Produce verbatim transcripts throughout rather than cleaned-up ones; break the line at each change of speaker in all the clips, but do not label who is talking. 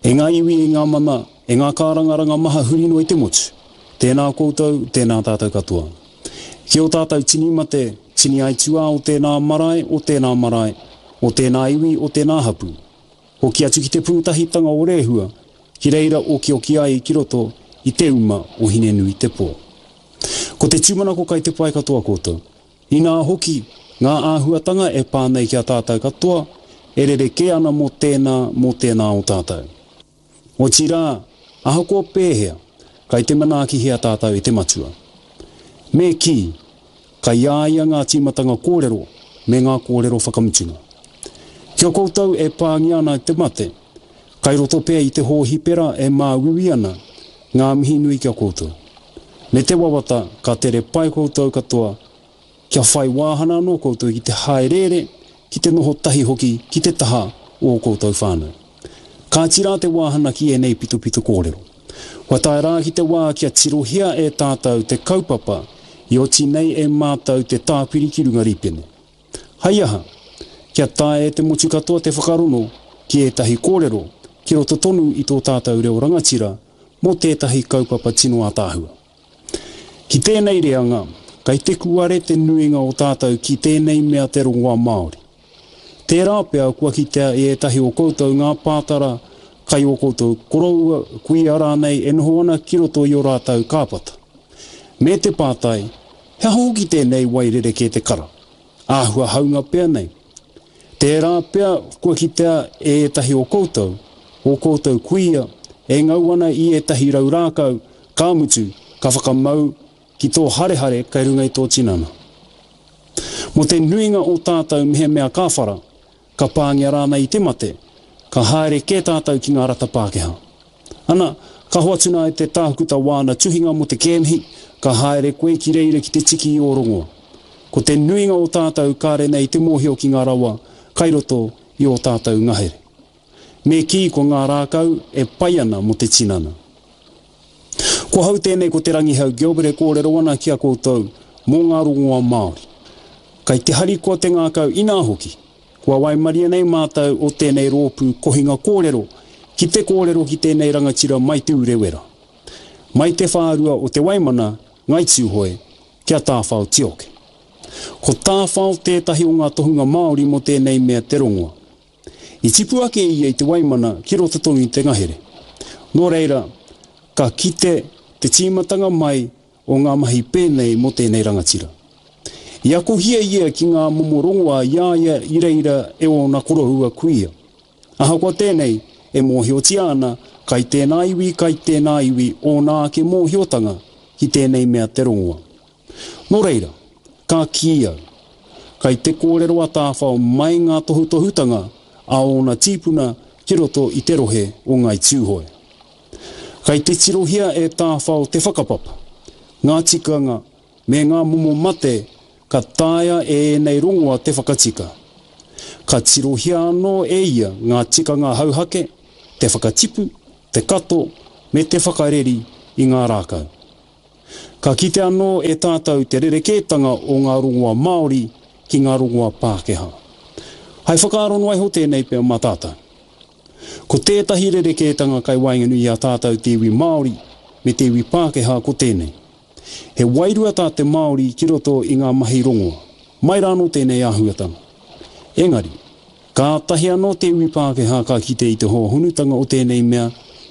E ngā iwi, e ngā mana, e ngā kārangaranga maha huri noa i te motu. Tēnā koutou, tēnā tātou katoa. Ki ō tātou tini mate, tini aituā o tēnā marae, o tēnā marae, o tēnā iwi, o tēnā hapū. Hoki atu ki te pūtahitanga o Rehua, ki reira okioki ai ki roto i te uma o Hinenuitepō. Ko te tūmanako kai te pae katoa koutou. Inā hoki, ngā āhuatanga e pā nei ki a tātou katoa, e rerekē ana mō tēnā, mō tēnā o tātou. Otirā, ahakoa pēhea, kai te manaakihia tātou e te Matua. Me kī, kai a ia ngā tīmatanga kōrero me ngā kōrero whakamutunga. Ki a koutou e pāngia ana e te mate, kai roto pea i te hōhipera e māuiui ana, ngā mihi nui ki a koutou. Me te wawata ka tere pai koutou katoa, kia whai wāhana anō koutou ki te hāereere, ki te noho tahi hoki ki te taha o ō koutou whānau. Kāti rā te wāhana ki ēnei pitopito kōrero. Kua tae rā ki te wā kia tirohia e tātou te kaupapa i oti nei e mātou te tāpiri ki runga rīpene. Hai aha, kia taea e te motu katoa te whakarono ki ētahi kōrero ki roto tonu i tō tātou reo rangatira mō tētahi kaupapa tino ātaahua. Ki tēnei reanga, kai te kuare te nuinga o tātou ki tēnei mea te rongoā Māori. Tērā pea kua kitea e ētahi o koutou ngā pātara kai ō koutou koroua, kuia rānei e noho ana ki roto i ō rātou kāpata. Me te pātai, he aha hoki tēnei wai rerekē te kara? Āhua haunga pea nei. Tērā pea kua kitea e ētahi o koutou, ō koutou kuia, e ngau ana i ētahi rau rākau, ka mutu, ka whakamau ki tō harehare kei runga i tō tinana. Mō te nuinga o tātou mehemea ka whara, ka pāngia rānei i te mate, ka haere kē tātou ki ngā rata Pākehā. Ana, ka hoatu nā e te tākuta wāna tuhinga mō te kēmihi, ka haere koe ki reira ki te tiki i ō rongoa. Ko te nuinga o tātou kāre nei te mōhio ki ngā rawa kai roto i ō tātou ngahere. Me kī ko ngā rākau e pai ana mō te tinana. Ko hau tēnei ko Te Rangihau Gilbert e kōrero ana ki a koutou mō ngā rongoā Māori. Kai te harikoa te ngākau inā hoki, kua waimaria nei mātou o tēnei rōpū kohinga kōrero ki te kōrero ki tēnei rangatira mai Te Urewera. Mai te whārua o Te Waimana, Ngai Tūhoe, kia Tāwhao Tioke. Ko Tāwhao tētahi o ngā tohunga Māori mō tēnei mea te rongoa. I tipu ake ia i Te Waimana ki roto tonu i te ngahere. Nō reira, ka kite te tīmatanga mai o ngā mahi pēnei mō tēnei rangatira. I akohia ia ki ngā momo rongoā i a ia i reira e ōna koroua kuia. Ahakoa tēnei, e mōhiotia ana kai tēnā iwi, kai tēnā iwi ōna ake mōhiotanga ki tēnei mea te rongoa. Nō reira, ka kī au, kai te kōrero a Tāwhao mai ngā tohutohutanga a ōna tīpuna ki roto i te rohe o Ngāi Tūhoe. Kai te tirohia e Tāwhao te whakapapa, ngā tikanga me ngā momo mate ka taea e ēnei rongoa te whakatika. Ka tirohia anō e ia ngā tikanga hauhake, te whakatipu, te kato me te whakareri i ngā rākau. Ka kite anō e tātou te rerekētanga o ngā rongoa Māori ki ngā rongoa Pākehā. Hai whakaaro noa iho tēnei pea mā tātou. Ko tētahi rerekētanga kai waenganui i a tātou te iwi Māori me te iwi Pākehā ko tēnei. He wairua tā te Māori ki roto i ngā mahi rongoa. Mai rānō tēnei āhuatanga. Engari, kātahi anō te iwi Pākehā ka kite i te hōhonutanga o tēnei mea,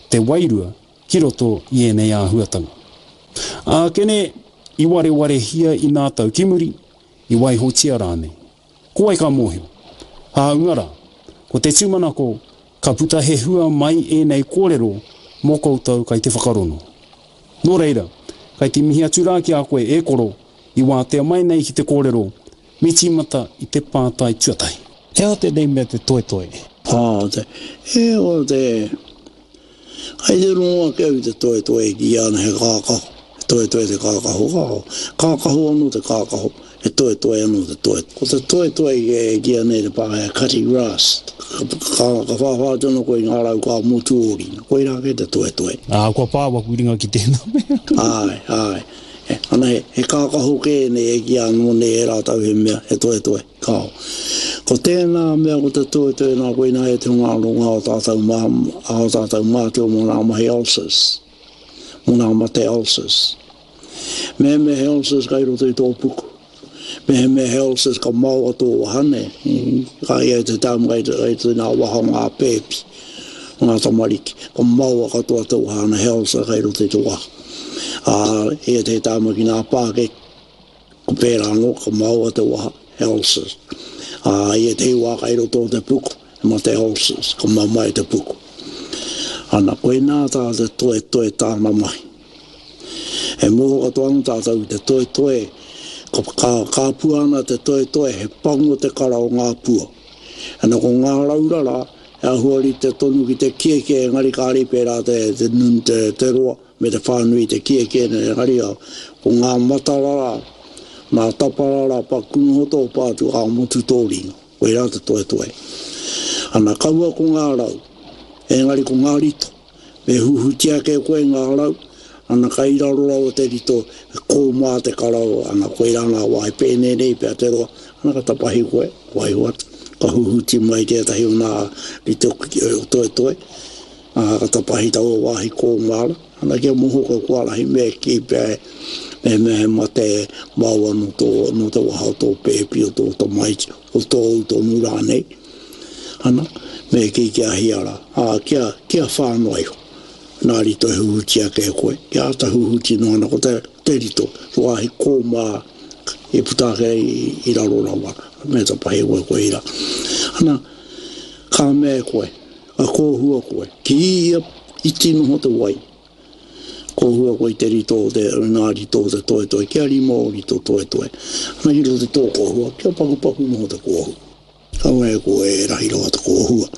te wairua, ki roto i ēnei āhuatanga. Ākene, i warewarehia i nā tau ki muri, i waihotia rānei. Ko wai ka mōhio? Hāunga rā, ko te tūmanako, ka puta he hua mai ēnei kōrero mō koutou kai te whakarono. Nō reira, kai te mihi atu rā ki a koe e koro, i wātea mai nei ki te kōrero, me tīmata i te pātai tuatahi. He aha tēnei mea te toetoe?
Ā, te, e, o te, kai te rongo ake au i te toetoe e kīia ana he kākaho, he toetoe te kākaho, kāo, kākaho anō te kākaho, he toetoe anō te toe. Ko te toetoe e kīia nei te Pākehā cutting grass, ka, ka, ka whāwhā atu anō koe i ngā rau ka motu ō ringa, koirā kē te toetoe.
Ā, kua pā waku ringa ki tēnā mea.
Āe, āe. Ana he, he kākaho kē nei e kīia anō nei e rātou he mea, he toetoe. Kāo. Ko tēnā mea ko te toetoe nā koinā e te hunga ronga o tātou mā, o tātou mātua mō ngā mahi ulcers, mō ngā mate ulcers. Mehemea he ulcers kai roto i tō puku, mehemea he ulcers ka maoa tō waha ne, ka ia te tāmu kai te, kai te nā waha o ngā pēpi, o ngā tamariki, ka maoa katoa te waha ana he ulcer kai roto i te waha. Ā, ia te tāmu ki ngā pākeke, ko pērā anō, ka maoa te waha, he ulcers. Ā, i ētehi wā kai roto o te puku, he mate ulcers, ka mamae te puku. Ana, koinā tā te toetoe tāna mahi. E mōhio katoa ana tātou ki te toetoe, ka, ka, ka pua ana te toetoe, he pango te kara o ngā pua. Ana, ko ngā raurara, he āhua rite tonu ki te kiekie, engari kāre i pērā te, te, te, te roa me te whānui te kiekie, engari ko ngā matarara, Nā taparara paku noho tō pātu ā motu tō ringa, koirā te toetoe. Ana kaua ko ngā rau, engari ko ngā rito. Me huhuti ake koe ngā rau, ana kai raro rawa te rito, he kōmā te kara, ana koirā ngā wā he pēnei nei pea te roa, ana ka tapahi koe, waiho atu, ka huhuti mai tētahi o ngā rito toetoe, ā, ka tapahi taua wāhi kōmā rā, ana kia moho koe kua rahi me kī pea mehemea he mate maoa nō tō, nō te waha o tō pēpi, o tō tamaiti, o tōu tonu rānei, ana, me kī kia hia rā, ā, kia, kia whā noa iho. Nā rito e huhuti ake e koe, kia āta huhuti noa ana ko te, te rito, te wāhi kōmā i puta ake i, i raro rawa, me tapahi koe koe i rā. Ana, ka mea e koe, ka kōhua koe, ki ia iti noho te wai, Kōhua koe i te rito o te, ngā rito o te toetoe, kia rima o rito toetoe. Ana ki roto i tō kōhua, kia pakupaku noho te kōhua. Kaua e koe e rahi rawa te kōhua.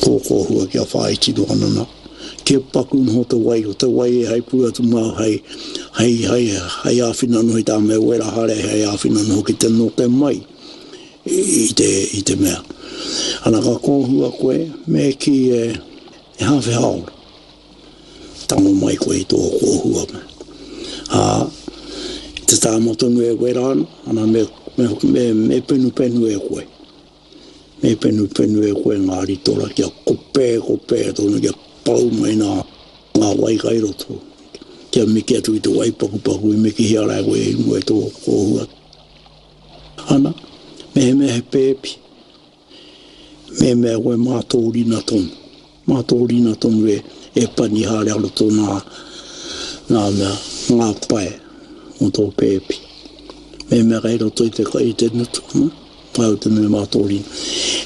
Tō kōhua kia whāiti noa ana nā. Kia paku noho te wai, o te wai e hei pū atu māu hei, hei, hei, hei āwhina noho i tā mea wera haere, hei āwhina noho ki te note mai i te, i te mea. Ana ka kōhua koe, me kī e, e hāwhe hāora. Tango mai koe i tō kōhua. Ā, i te tāma tonu e wera ana, ana me, me, me, me penupenu e koe. Me penupenu e koe ngā ritora kia kopē, kopē tonu, kia pau mai nā, ngā wai kai roto. Kia miki atu i te wai pakupaku i mikihia rā e koe i mua i tō kōhua. Ana, mehemea he pēpi, mehemea koe mā tō rina tonu. Mā tō rina tonu e, e pani haere a roto nā, nā mea, ngā pae o tō pēpi. Mehemea kei roto i te, i te ngutu, ana, māu tonu e mā tō rina.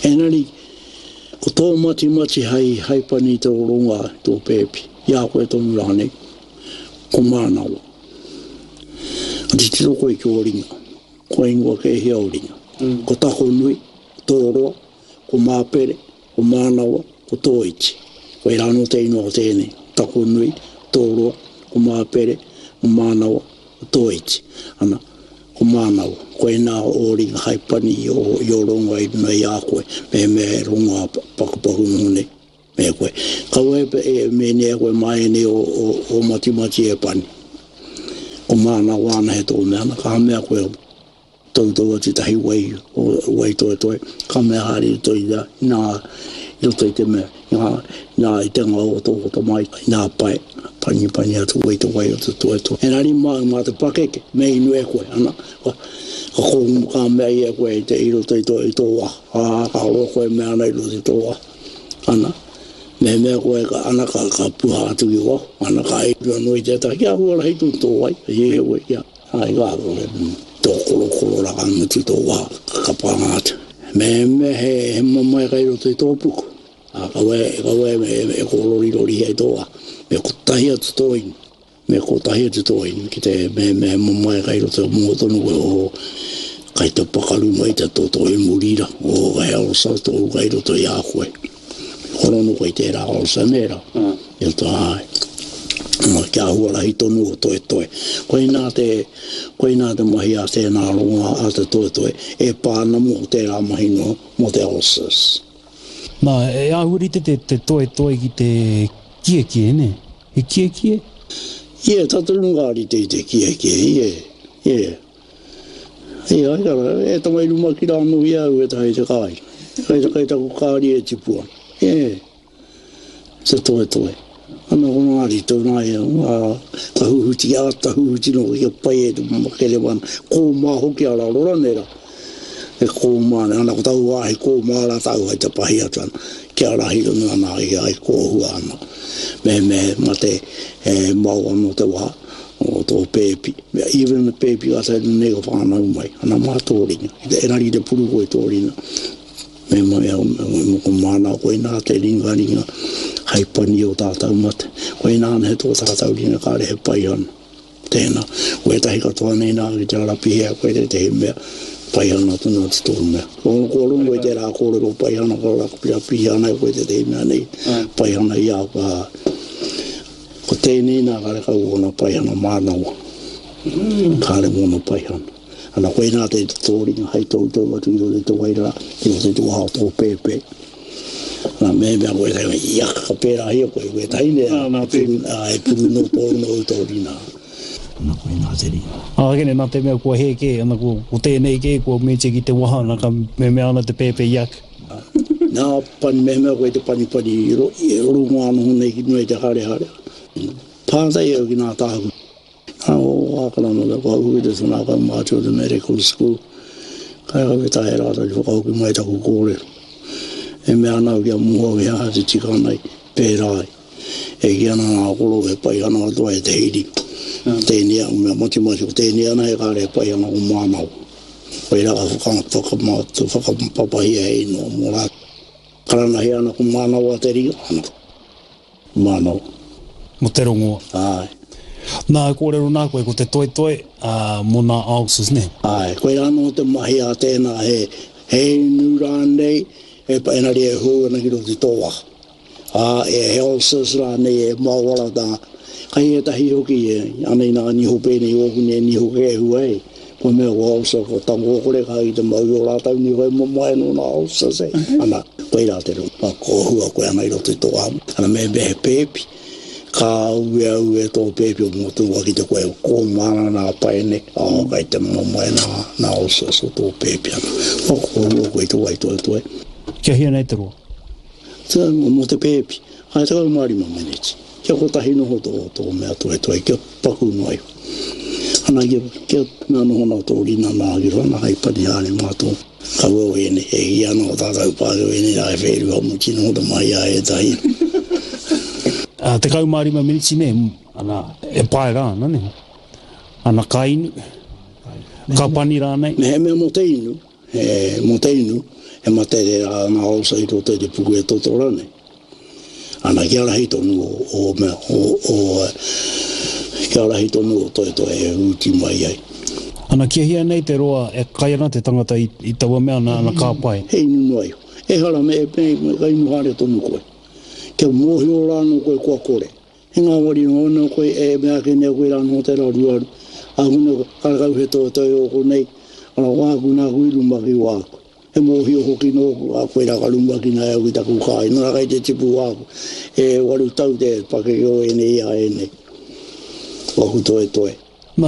Engari, ko tō matimati hei, hei pani i te rongoā i tō pēpi, i a koe tonu rānei, ko mānawa. Ka titiro koe ki ō ringa, kua ingoa kē hia ō ringa. Ko Takonui, ko Tōroa, ko Māpere, ko Mānawa, ko Tōiti. Koirā anō te ingoa o tēnei, Takonui, Tōroa, ko Māpere, ko Mānawa, ko Tōiti. Ana, ko Mānawa, koinā ō ringa hai pani i ō, i ō rongoa i runga i a koe, mehemea he rongoa pakupaku noho nei me koe. Kaua e, e mēnei e koe mā ēnei o, o, o matimati e pani. Ko Mānawa ana he tō mea, ana, ka mea koe, Toutou atu tahi wai, wai toetoe, ka mea haere i roto i a, inā, i roto i te mea, i ngā, inā, i te ngau o tō tamaiti, inā pae, panipani atu koe i te wai o te toetoe. Engari mā, mā te pakeke, me inu e koe, ana, ka, ka kōngumu ka mea i e koe i te, i roto i tō, i tō waha, ā, ka roa koe mea ana i roto i tō waha, ana, mehemea koe ka, ana, ka, ka puha atu ki waho, ana, ka inu anō i tētahi, kia huarahi tonu tō wai, i e koe kia. Ai ka tō korokoro rā ka mutu tō waha, ka kapanga atu. Mehemea he, he mamae kai roto i tō puku, ā, kaua e, kaua e, e, e kōrorirorihia i tō waha. Me kotahi atu tō inu, me kotahi atu tō inu ki te mehemea he mamae kai roto, mō tonu koe, oh, kai te pakaru mai te toto i muri rā, oh, he ulcer tōu kai roto i a koe. Horono koe i tērā ulcer nē rā. I roto, āe. Kia huarahi tonu o toetoe. Koinā te, koinā te mahi a tēnā rongoā a te toetoe e pā ana mō tērā mahi noa, mō te ulcers.
Nā, e āhua rite te, te toetoe ki te kiekie, nē? He kiekie?
Ie, tata runga rite i te kiekie, ie, ie. E ai kara, e tamai rumaki rā anō i au e tahi te kāi. Kai te kai taku kāri e tipu ana. E, te toetoe. Ana ko ngā rito nā ia, a, ka huhuti, āta huhuti no, kia pai e te makere wana. Kōmā hoki a raro rane rā. E kōmā, ana ko tau wāhi kōmā rā tau hai te pahi atu ana. Kia rahi tonu ana ai, ai kōhua ana. Me me mate e mau anō te wā o tō pēpi. Mea, even the pēpi ka tae nei ka whānau mai. Ana mā tō ringa. Engari te puru koe tō ringa. Me me me me ko māna koe nā te ringa ringa hai pani o tātau mate. Koe nā he tō tātau ringa kāre he pai ana. Tēnā. Koe tahi katoa nei nā ki te arapihea koe te tehi mea pai ana tonu te tō mea. Ko ko rongo i te rā kōrero pai ana ka rapihi ana koe te tehi mea nei pai ana i a ka. Ko tēnei nā kāre kau ona pai ana mānawa. Kāre mōna pai ana. Ana koe nā te tōringa hai tō tō atu i roto i te wairara, i roto i te waha o tō pēpē. Ana me mea koe tahi, ia ka pērā hia koe, koe tahi ne,
nā te
e puru no tō no tō rina. Ana koe nā te rina.
Ā, kene, nā te mea kua hē kē, ana ko, ko tēnei kē, kua mete ki te waha, ana ka me mea ana te pēpē iak.
Nā, pani me mea koe te pani pani i ro, i runga anō nei ki runga i te hare hare. Pātai au ki nā tāhu. Nā o wākana no te whakahoki te tōna kau mātua te medical school. Kai au e tae rātou ki whakahoki mai taku kōrero. E mea ana au kia mua ki aha te tika nei, pērā ai. E ki ana ngā koro e pai ana katoa e te hiri. Tēnei au mea matimati ko tēnei ana e kāre e pai ana ko mānawa. Koe rā ka whaka, whakapapahia e inoa mō rā. Karanahi ana ko mānawa te ringa, ana. Mānawa.
Mo te rongoa.
Ai.
Nā, kōrero nā koe, ko te toetoe, uh, mō nā ulcers, ne?
Ai, koe rā nō te mahi a tēnā he, he inu rānei, e engari e hou ana ki roto i tō waha. Ā, e he ulcers rānei e mawara tā. Kai e tahi hoki e, anei nā niho pēnei ōku nei niho kēhua e. Ko mea ko ulcer, ko tango kore ka i te mau i o rātau niho e mamae nō nā ulcers e. Ana, koe rā te rongo, kōhua koe ana i roto i tō waha. Ana me me he pēpi. Ka ue au e tō pēpi o mō tō ki te koe ko mana nā paene, ā, kai te mamae nā, nā ulcers o tō pēpi ana. O kōhua koe tō wai toe toe.
Kia hia nei te roa?
Te, mō te pēpi, ai tekau mā rima meneti. Kia kotahi noho tō, tō mea toe toe, kia paku noa iho. Ana kia, kia mea noho nā tō rina nā ki rana hai pani haere mā tō. Kaua o ene, e hi ana o tātou pākeo ene rā e whērua mo tino te mai a e tahi.
Uh, tekau mā rima miniti ne, ana, e pae rā, ana ne. Ana ka inu, ka pani rānei.
Me he mea mō te inu, he mō te inu, he matere rā nā ulcer i roto i te puku e toto rānei. Ana kia rahi tonu o, o mea, o, o, kia rahi tonu o toe toe e ūti mai ai.
Ana kia hia nei te roa e kai ana te tangata i, i taua mea ana, ana ka pai.
He inu noa iho. E hara me e me, me ka inu haere tonu koe. Kia mōhio rānō koe kua kore. He ngā wari noa anō koe e mea ake nei koe rānō te raru aru. Ākuna karakau he toe toe o konei, ana wāku nā kui rumaki wāku. He mōhio hoki nōku, a koe rā ka rumaki nā au ki taku kāi. Nō kai te tipu wāku. E waru tau te pakeke o ēnei a ēnei. Waku toe toe.